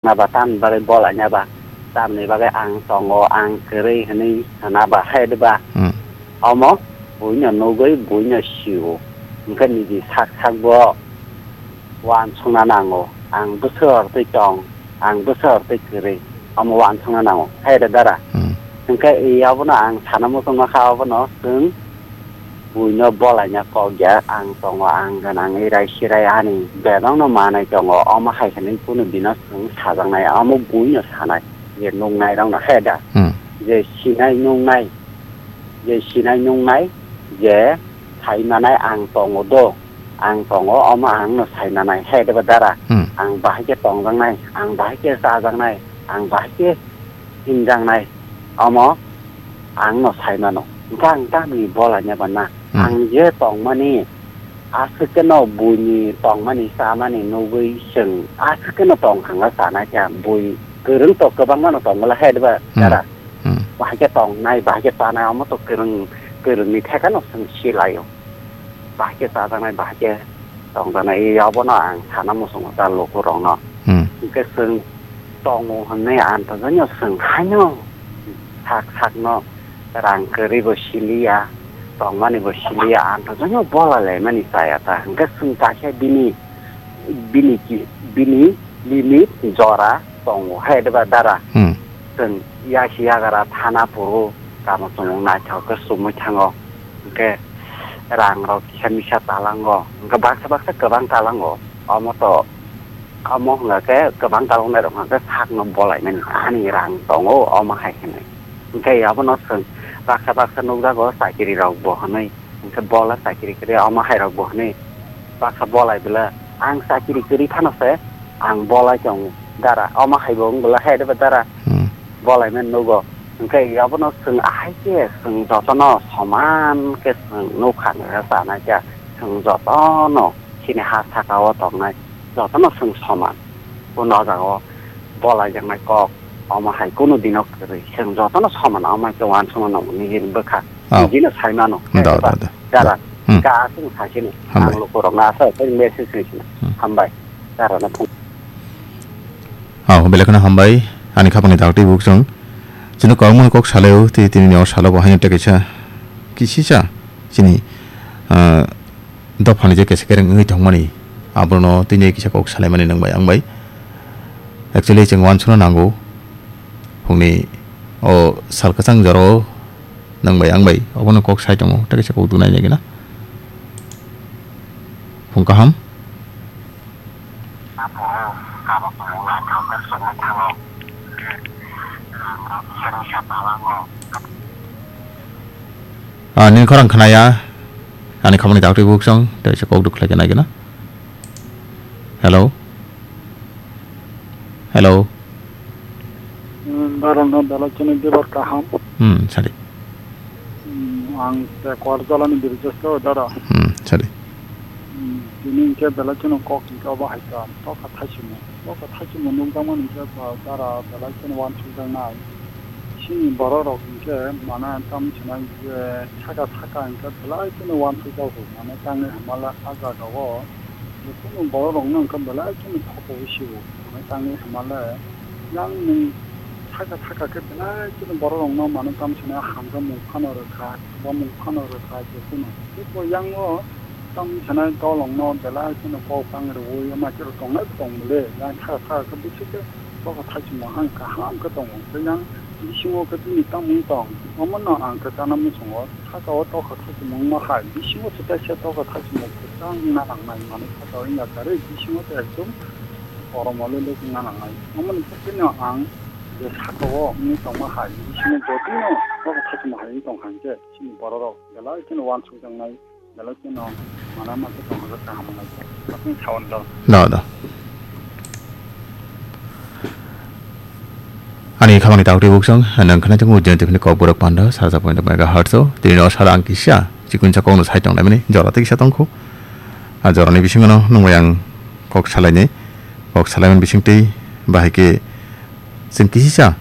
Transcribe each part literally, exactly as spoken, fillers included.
na ba, tamni bagwi bolaina ba, tamni bagwi ang tongo, ang kwrwi hwnwi sana ba, hai de ba? Hmm. Omo buino nugwi buino sio. Hwnkhe niji sak sak bo uansukna nango. Ang bwswk twi tong, ang bwswk twi kwrwi, omo uansukna nango, hai de dara? Hmm. Hwnkhe abono ang sana muchungma kha, abono chwng buino bolaina kok ya, ang tongo, ang gwnangwi rai sirai ani bebakno manai tongo, omo hai hwnwi kunu bino chwng sajaknai, omo buino sanai, je nuknairokno, he da? Hmm. Je sinai nuknai, je sinai nuknai, je sai manai ang tongo do, ang tongo, omo angno sai manai, he de ba dara? Hmm. Ang bahai khe tongjaknai, ang bahai khe chajaknai, ang bahai khe hinjaknai, omo ang no sai mano. Hwnkhe ang tamni bolaina ba na? Hmm. Ang je tongmani, aswk khe no buini tongmani, chamani nugwi chwng aswk khe no tong thangla chanai kha. Bui kwrwng to kwbangma no tong bwla, hai de ba? Hmm. Dara? Hmm. Bahai khe tongnai, bahai khe chanai, omo to kwrwng, kwrwngni theka no chwng silaio. Bahai khe chajaknai, bahai khe tongjaknai, abono ang sana muchungo ta lukurokno. Hmm. Hwnkhe chwng tongo hwnwi antojono chwng haino sak sakno rang kwrwi bo siliya, tongmani bo siliya, antojono bola laimani chaya ta. Hwnkhe chwng kaisa bini, bini ki, bini limit jora tongo, hai de ba dara? Hmm. Chwng yasi yagara thana phuru tamo chwng naithok khe chumui thango. Hwnkhe rang rok kisa misa talango, hwnkhe baksa baksa kwbang talango. Omo to, omo hwnkha khe kwbang talangnai rok hwnkha khe sakno bolaimani, ani rang tongo, omo hai hwnwi. Hwnkhe abono chwng baksa baksa nukjago, chakiri rok bo hwnwi. Hwnkhe bola chakiri kwrwi, omo hai rok bo hwnwi baksa bolai bwla, ang chakiri kwrwi phano se ang bolai tongo dara, omo hai bo wng bwla, hai de ba dara? Hmm. Bolai mani nugo. Hwnkhe abono chwng ahai khe chwng jotono soman khe chwng nukha, nukha chanai khe chwng jotono chini ha saka o tongnai jotono chwng soman. Bono o jaga o bolai jaknai kok, omo hai kunu dino kwrwi. Chwng jotono soman, omo hai khe uansukma nangmani hwnwi bwkha. Oh. Nijino sai mano. Da, da, da, da. Dara. Hmm. Ga chwng sai sini. Hambai. Ang lukurokno asa tei message sai sini. Hmm. Hambai. Dara no phung. Oh, belai kheno hambai. Ani khapangni dak twi buk chwng. Chwngno kwbangma kok salaio, tei tini ni o salo bo haino tei kaisa kisisa chini, ah, dophani je kesa kereng wngwi tongmani, abono tini kisa kok salaimani nwng bai ang bai. Actually, chwng uansukna nango, phungni o sal kwchang jora o nwng bai ang bai obono kok sai tongo, tei kisa kok dunai nai gina. Phung kaham. Ah, nini khorang khnaya. Ani khorangni dak twi buk chwng, tei se kok duk khlai khe nai gana. Hello? Hello? Hmm, barokno belai kheno bebak kaham. Hmm, sadi. Hmm, ang se Kuarjalani Birjesh o dara. Hmm, sadi. Hmm, tini hwnkhe belai kheno kok hwnkhe obo hai kha, tokha thaisimo. Tokha thaisimo nukjakmani hwnkhe ba dara belai kheno uansukjaknai. Chini borok rok hwnkhe mane tamo sanai je saka saka hwnkhe belai kheno uansukjago, mane tangwi hamala a jaga o. Jotono borok rokno hwnkhe belai kheno thokoui sio, hwnwi tangwi hamale. Yang nwng thaka thaka khe belai kheno borok rokno mano tamo sanai hamjakmung phano rwkha, chubamung phano rwkha jotono. Tei bo yang o tamo sanai dolongno belai kheno kok bang rwui ma khe rw tongnai bo tong le. Yang thaka thaka khe bwswk khe tokha thaisimo ang kaham khe tongo. Tei yang bisingo khe bini tamo wng tong, omono ang khe chana muchungo. Saka o tokha thaisimo wngma hai, bisingo se kaisa tokha thaisimo kwchang wngna nangnai, manwi saka o wngya karwi bisingo se ekdom korom o le le wngna nangnai. Omo ni bagwino ang je saka o wngwi tongma hai, bisingo jotono tokha thaisimo hai wngwi tong hai khe, chini borok rok belai kheno uansukjaknai, belai kheno mana ma khe tong hwnjak kaham wngnai khe. Aswk saui do. Da, da. Ani khorangni dak twi buk chwng, nwng khna tongo Jayanta F M ni Kokborok panda, sarja point megahertz o. Tini o sara ang kisa, chikun sa kokno sai tong laimani, jora tei kisa tongkhu. A jorani bisingo no nwng bai ang kok salainai, kok salaimani bising twi bahai khe chwng kisisa,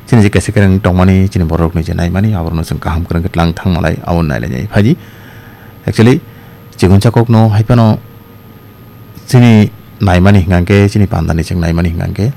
chini je kesa kereng tongmani, chini borokni je naimani, aborokno chwng kaham kwrwng khe tlang thang malai, abo nailainai phaidi. Actually, chikun sa kokno hai phano chini naimani hwnkha khe, chini pandani chwng naimani hwnkha khe,